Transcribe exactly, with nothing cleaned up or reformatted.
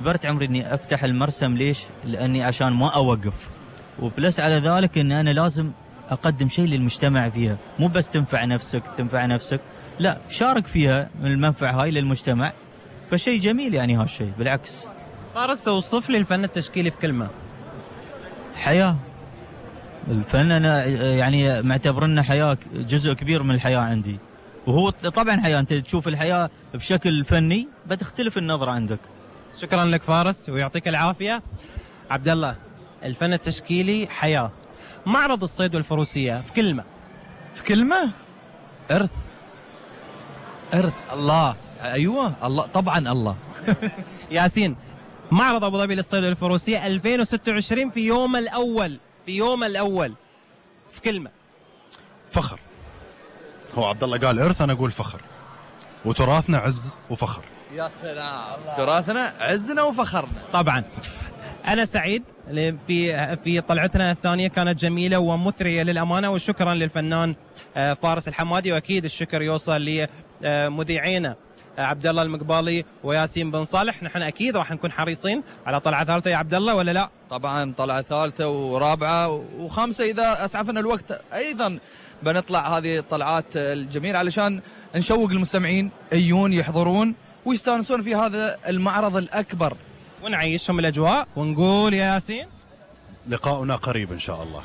كبرت عمري اني افتح المرسم. ليش؟ لاني عشان ما اوقف، وبلس على ذلك ان انا لازم اقدم شيء للمجتمع فيها، مو بس تنفع نفسك تنفع نفسك، لا شارك فيها من المنفعه هاي للمجتمع. فشيء جميل يعني هالشيء بالعكس. فارس، اوصف لي الفن التشكيلي في كلمه. حياه. الفن انا يعني معتبر انه حياه، جزء كبير من الحياه عندي، وهو طبعا حياه. انت تشوف الحياه بشكل فني بتختلف النظره عندك. شكرا لك فارس ويعطيك العافيه. عبد الله، الفن التشكيلي حياه، معرض الصيد والفروسيه في كلمه. في كلمه؟ ارث. ارث. الله. ايوه الله، طبعا الله. ياسين، معرض ابو ظبي للصيد والفروسيه ألفين وستة وعشرين في يوم الاول، في يوم الاول في كلمه. فخر. هو عبد الله قال ارث، انا اقول فخر. وتراثنا عز وفخر. يا سلام، تراثنا عزنا وفخرنا. طبعا انا سعيد في في طلعتنا الثانيه، كانت جميله ومثريه للامانه، وشكرا للفنان فارس الحمادي، واكيد الشكر يوصل لمذيعينا عبد الله المقبالي وياسين بن صالح. نحن اكيد راح نكون حريصين على طلعه ثالثه يا عبد الله، ولا لا؟ طبعا طلعه ثالثه ورابعه وخامسه اذا اسعفنا الوقت، ايضا بنطلع هذه الطلعات الجميله علشان نشوق المستمعين يجون يحضرون ويستانسون في هذا المعرض الاكبر، ونعيشهم الاجواء. ونقول يا ياسين لقاؤنا قريب ان شاء الله.